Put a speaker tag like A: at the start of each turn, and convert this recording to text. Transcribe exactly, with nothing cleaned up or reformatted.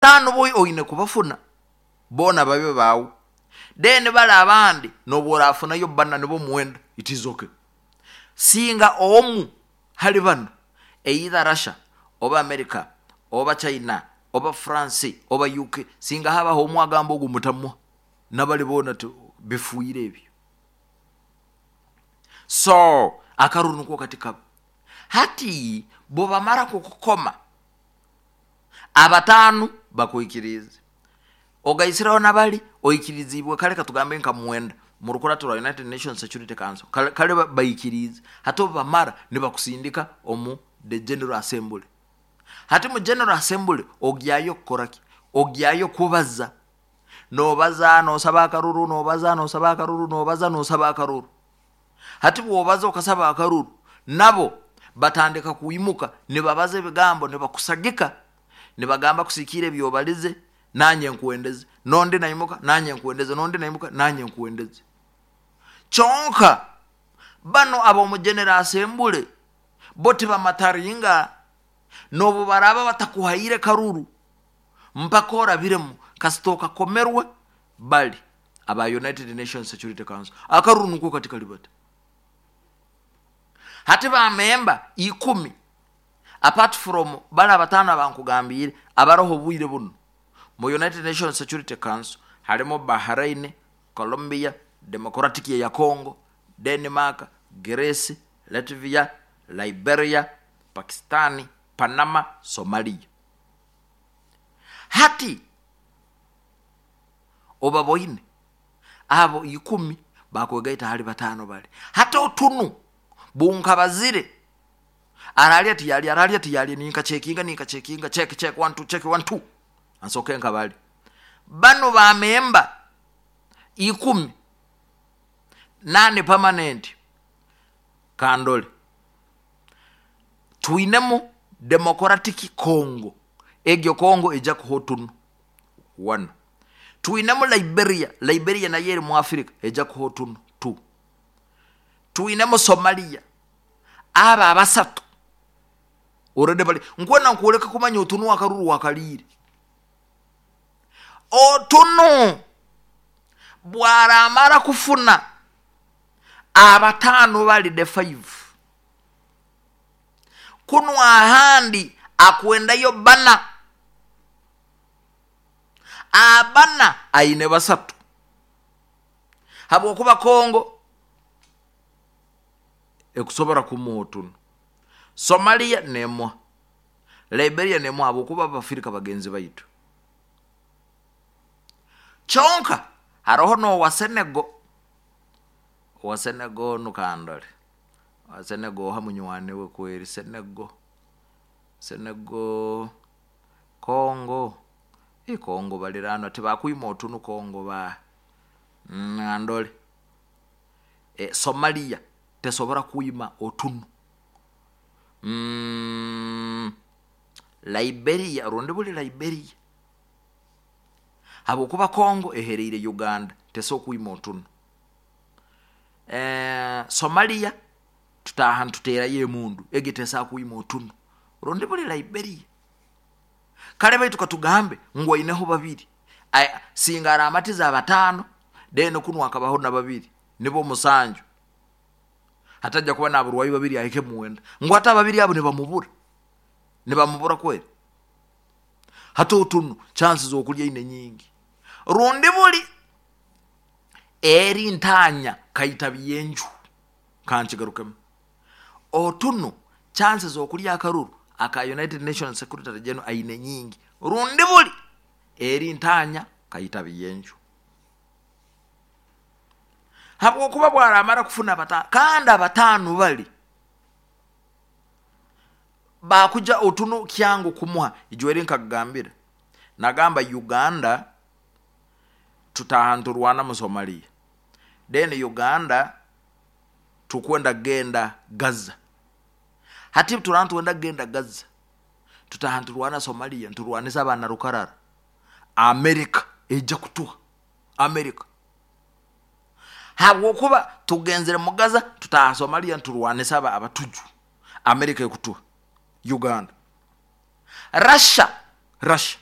A: Abataano bo oine kubafuna boona babe baawe, then bali abandi nobu orafunayo bana nibo mwenda, it is okay. Singa omu hali bano, either Russia oba America oba China oba France oba U K, singa habaho omu agamba ogu mutamuha, nabali boona bifuire ebyo. So akaruru niko kati kaba. Hati bwebamara kukukoma, abataano bakwikirize, ogaisireho nabali oikirizibwe, kale katugambe nka mwenda mu rukurato rwa United Nations Security Council, kale, kale baikirize. Hati obu bamara nibakusindika omu the General Assembly. Hati mu General Assembly ogyayo kukoraki? Ogyayo kubaza, nobaza nosaba akaruru, nobaza nosaba akaruru, nobaza nosaba akaruru. Hati bwobaza okasaba akaruru, nabo batandika kuimuka nibabaza ebigambo, nibakusagika, nibagamba kusikiira ebyobalize, nanye nkuwendeze, nondi naimuka, nanye nkuwendeze, nondi naimuka, nanye nkuwendeze. Kyonka bano ab'omu General Assembly bo tibamataringa. Nobu baraba batakuhaire karuru mpaka orabiremu, kasita okakomerwe bali aba United Nations Security Council, akaruru nukwo kati kali bati. Hati bamemba ikumi, apart from bali abataano abankugambiire abaroho obwire buno mu United Nations Security Council, harimo Bahrain, Colombia, Democratic ya Congo, Denmark, Greece, Latvia, Liberia, Pakistani, Panama, Somalia. Hati obaboine abo ikumi bakwegaita hali bataano bali. Hati otunu bunkabazire aralya tiyali, aralya tiyali, ninka checkinga, ninka checkinga, check, check, one two, check, one two, ansoke nkabali bano bamemba ikumi nane permanent. Kandole twinemu Democratic Congo, egyo Congo ejja kuha otunu one. Twinemu Liberia, Liberia nayo eri mu Africa, ejja kuha otunu two. Twinemu Somalia. Aba abasatu already bali nkwena nkwoleka kumanya otunu akaruru wakaliire. Otunu bwaramara kufuna abataano bali, the five, kunu ahandi akwendayo bana, abana aine basatu, habwokuba Kongo ekusobora kumuha otunu, Somalia nemuha, Liberia nemuha, habwokuba Abafirika bagenzi baitu. Kyonka haroho nowa Senego, owa Senego nukandole, owa Senego oha munywani we kweri. Senego, Senego, Congo, i Congo balirano tibakwima otunu Congo ba mm, andole e, Somalia tesobora kwima otunu, mm, Liberia rundi buli Liberia, habwokuba Congo ehereire Uganda, tesobola kwima otunu. eh, somalia tutaha ntuterayo emundu, egi tesobola kwima otunu, rundi buli Liberia. Kale baitu katugambe ngu aineho babiri. Aya, singa aramatiza abataano, then kunu akabaho na babiri, nibo musanju, hatajja kuba naburwayi babiri, ahike muwenda. Ngu ate ababiri abo nibamubura, nibamubura kweri. Hati otunu chances okulya ine nyingi, rundi buli eri ntanya kaitabi yenju. Kankigarukemu, otunu chances okulya akaruru aka United Nations Secretary General aine nyingi, rundi buli eri ntanya kaitabi yenju, habwokuba bwaramara kufuna abataano, kandi abataano bali bakuja otunu kyangu kumuha. Ijweri nkakugambira, nagamba Uganda tutaha nturwana mu Somalia, then Uganda tukwenda genda Gaza. Hati turana tuwenda genda Gaza, tutaha nturwana Somalia, nturwanisa abaana rukarara, Amerika ejja kutuha. Amerika, habwokuba tugenzere mu Gaza, tutaha Somalia nturwanisa aba abatuju, Amerika ekutuha Uganda. Russia, Russia